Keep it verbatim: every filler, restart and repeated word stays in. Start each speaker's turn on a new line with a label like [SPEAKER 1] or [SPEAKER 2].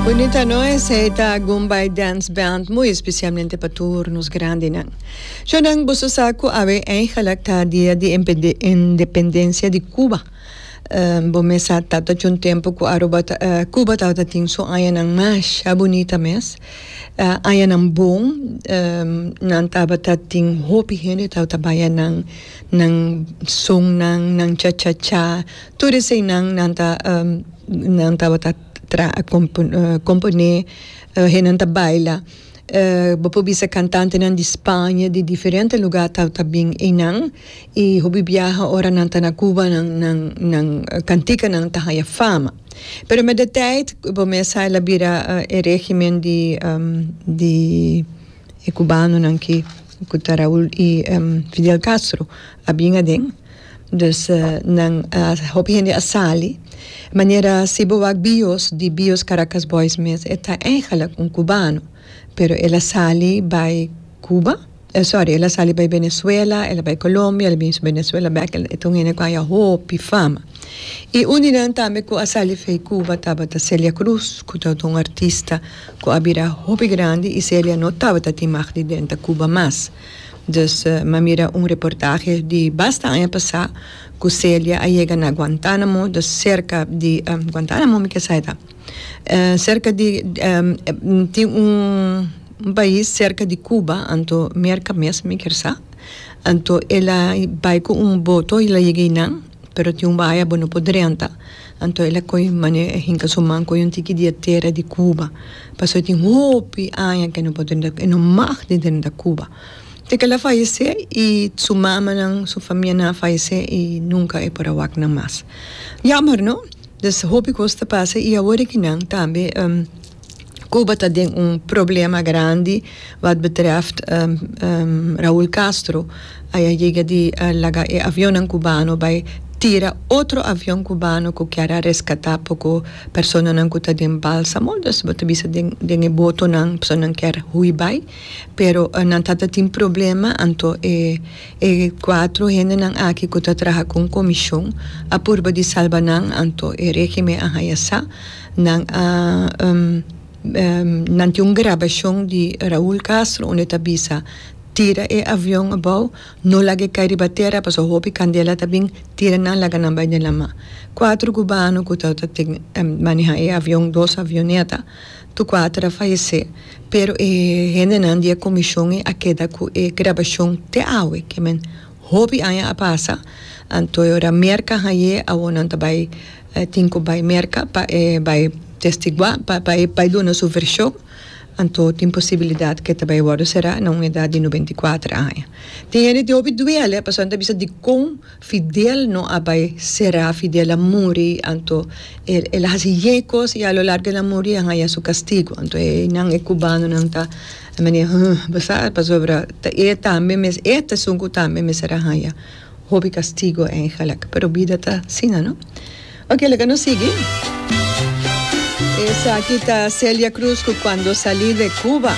[SPEAKER 1] Bunita, no? Esey ta Gumbay Dance Band, muy especialmente pa tur nos grandinan. Shonan, boso sa cu awe eigenlijk ta dia di independencia di Cuba. Um, bo mes sa tata un tempo cu Aruba uh, Cuba tata tin su añanan masha bunita mes. Uh, añanan bon, um, nan tabata tin hopi hende tabata baya nan nan son nan nan cha cha cha. Tur esey nan nan ta um, nan tabata tra compon, uh, compone uh, nan ta baila. Uh, bo por bisa cantantenan di Spaña, di diferente lugar tabata bin eynan y hopi biaha ora nan ta na Cuba nan nan nan canticanan ta haya fama. Pero met de tijd bo mes sa el a bira uh, e regimen di um, di e cubanonan cu cu ta Raúl y um, Fidel Castro a bin aden. Dus uh, nan uh, hopi hende a sali. Manera si bo wak Bios, di Bios Caracas Boys mes, e ta eigenlijk un cubano. Pero el a sali bay Cuba, eh, sorry, el a sali bay Venezuela, el a bay Colombia, el a bin Venezuela bek, e ta un hende cu a haya hopi fama. Y un di nan tambe cu a sali fei Cuba tabata Celia Cruz, cu tabata un artista cu a bira hopi grandi y Celia no tabata tin mag di drenta Cuba mas. Dus uh, m'a mira un reportahe di basta aña pasa cu Celia a yega na Guantánamo, dus cerca di um, Guantánamo mi kier sa ta. Uh, cerca di um, tin un, un pais cerca di Cuba, anto Merca mes mi kier sa. Anto el a bay cu un boto el a yega nan, pero tin un vaya bo no por drenta. Anto el a coy mane hinca su man coy un tiki di tera di Cuba. Paso tin hopi aña cu no por drenta, e no mag di drenta Cuba. Te cu el a fayece y su mamanan, su famianan a fayece y nunca e por a wak nan mas. Jammer, no? Dus hopi cos ta pasa y awor cu nan tambe um, Cuba ta den un problema grandi wat betreft um, um, Raúl Castro. A yega di uh, laga e avion cubano bay tira otro avion cubano cu kier a rescata poco personanan cu ta den balsamo, dus bo ta bisa den den e botonan personanan kier hui bay, pero uh, nan tata tin problema, anto e e cuatro hendenan aki cu ta traha cu comision a purba di salba nan, anto e regimen a haya sa nan a um, um, nan tin un grabacion di Raúl Castro unda ta bisa: "Tira e avion abou, no lag'e cay riba tera, paso hopi candela ta bin, tira nan laga nan bay den lama." Cuatro cubano cu tabata um, maneha e avion, dos avioneta, tur cuatro a fayece. Pero e hendenan di e comision a keda cu e grabacion te awe, kiermen hopi aña a pasa, anto ora Merca hay'e awor nan ta bay eh, tin cu bay Merca pa eh, bay testigua pa pa pa duna su version, anto tin posibilidad cu e ta bay wordo sera na un edad di nobenta y cuater aña. Tin hende di hopi duele, pasobra ta bisa di con Fidel no a bay sera. Fidel a muri, anto el el a haci yecos y a lo largo el a muri, a haya su castigo. Anto e nan e cubanonan ta manera, basa pasobra e tambe mes e ta esun cu tambe mester a haya hopi castigo eigenlijk, pero bida ta asina, no? Ok, laga nos sigui. Esaki ta Celia Cruz cu "Cuando salí de Cuba".